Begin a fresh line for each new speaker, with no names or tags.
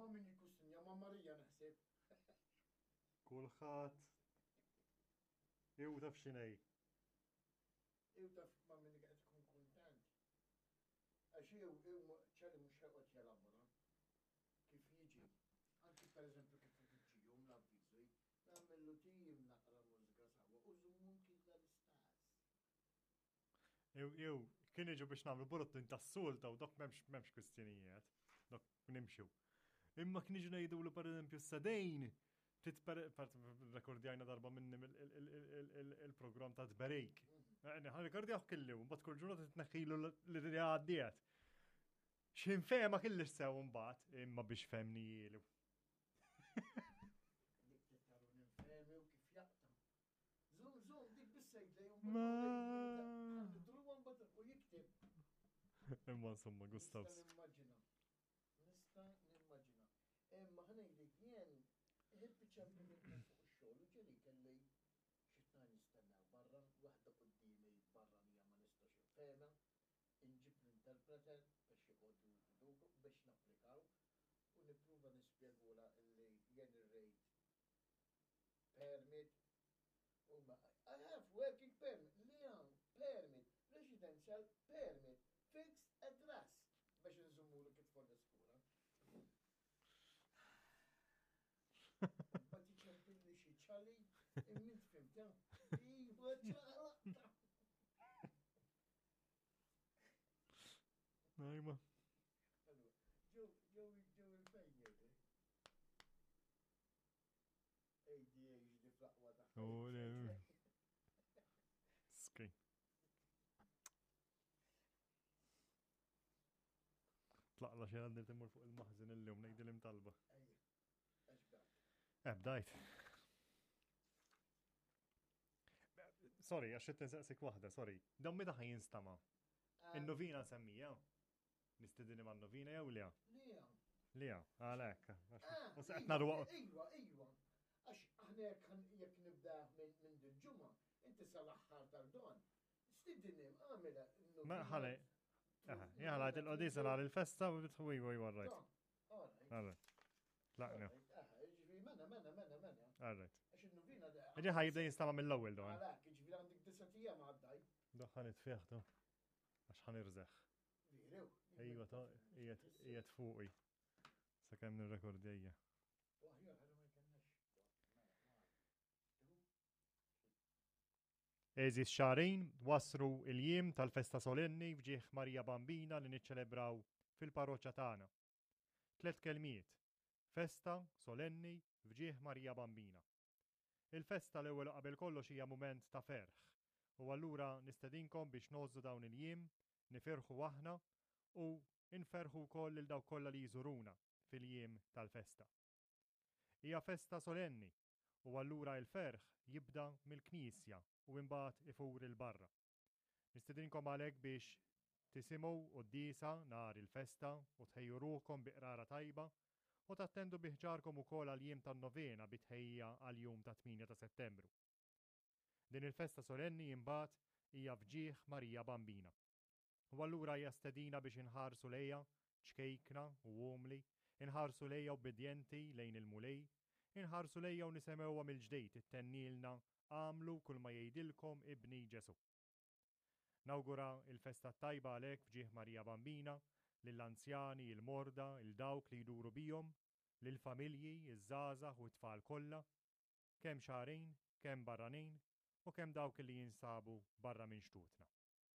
Ma' min jikkustinja ma' Marija naħseb.
Kulħadd. Iw taf x'inhi.
Iw taf ma' min qed ikun kuntent. Għax iw iw ċali mhux ħeqgħod jelabora kif jiġi. Anki pereżempju kif ifittxihom l-avviżi, nagħmillu tim naqra mużika sawa u żummum killa l-istess.
Jew, jew, kien iġu biex nagħmlu bulletin tas-sulta u dok m'hemmx m'hemmx kwistjonijiet, dok nimxu. Imma kien iġu ngħidu li pereżempju s-sedejn rekordjajna darba minni il-programm ta' tberik. Ħan rekordjaw kelli, mbagħad kull ġurnata tneħħilu li għaddiet. X'in fehma kelli sew mbagħad, imma biex femni jielu.
Dik tittaru ninfehmi u kif jaqta'. Zum, zum, dik bissejt lejn. U jikteb.
Imma insomma, Gustavs.
Nista' nimmaġina. Nista' nimmaġina. Imma ħanejdlek jien ħibbi ċempli minn fuq ix-xogħol u ġieli kelli xi tnajn jistennew barra, waħda quddiemi barranija ma nistax infehmha, inġib l-interpreter biex joqogħdu biex napplikaw u nippruva nispjegulha illi jien irrid permit huma I have working permit, li hawn permit, residential permit, fixed address biex nżummulu kif tfol l-iskura. Bati ċempilli xi ċali, immint fimta. Iva ċala.
Najma.
Ġew ġew il-fejn jgħidu. ADHD fl-aqwa tagħha.
Oh, Skej. Tlaqla xi għandi timur fuq il-maħżin illum ngħidil imtalba. Eh, bdajt. Sorry, għax qed nsaqsik waħda, sorry. Dan meta ħaj jinstama? Eh. In-novina semmija? Nistedini ma' novina jew lija?
Lija.
Lija, għalhekk.
Ah,
U se qed narwa.
Iva, iva. Għax aħna jekk nibda minn dil-ġimgħa, inti sal-aħħar tal-don. Stidini, għamilha.
Ma ħalli. Jħala il-qodisa nhar il-festa u bitħu iva iva rajt. Alright. Tlaqna.
Mena, mena, mena, mena.
Alright.
Għax il-novina.
Ġi ħajibda jinstama mill-ewwel don.
Għalhekk, ġifieri għandek disa' ijiem għaddaj.
Doħħan it-fieħ Għax ħan irżeħ. Ejwa ta' qiegħed fuqi. Sakemm nirrekordjajja. Għeżież xarin, waslu il-jiem tal-festa solenni f'ġieħ Marija Bambina li niċċelebraw fil-parroċċa tagħna. Tlett kelmiet, festa solenni f'ġieħ Marija Bambina. Il-festa l-ewwel u qabel kollox hija mument ta' ferħ u allura nistedinkom biex ngħożżu dawn il-jiem, nifirħu aħna u nferrħu wkoll lil dawk kollha li jżuruna fil-jiem tal-festa. Hija festa solenni u allura il-ferħ jibda mill-knisja u imbagħad ifur 'il barra. Nistedinkom għalhekk biex tisimgħu quddiesa nhar il-festa u tħejju ruħkom bi qrara tajba u tattendu bi ħġarkom ukoll għall-jiem tan-novena bi tħejjija għall-jum tat-tmienja ta' Settembru. Din il-festa solenni imbagħad hija f'ġieħ Marija Bambina. U allura hija stedina biex inħarsu lejha, ċkejkna u umli, inħarsu lejha ubbidjenti lejn il-Mulej, inħarsu lejha u nisemgħuha mill-ġdid ittennilna Agħmlu kull ma jgħidilkom ibni Ġesù. Nawgura il-festa t-tajba għalhekk f'ġieħ Marija Bambina, lill-anzjani, il-morda, 'il dawk li jduru bihom, lill-familji, iż-żgħażagħ u t-tfal kollha, kemm xagħrin, kemm barranin u kemm dawk li jinsabu barra minn xtutna.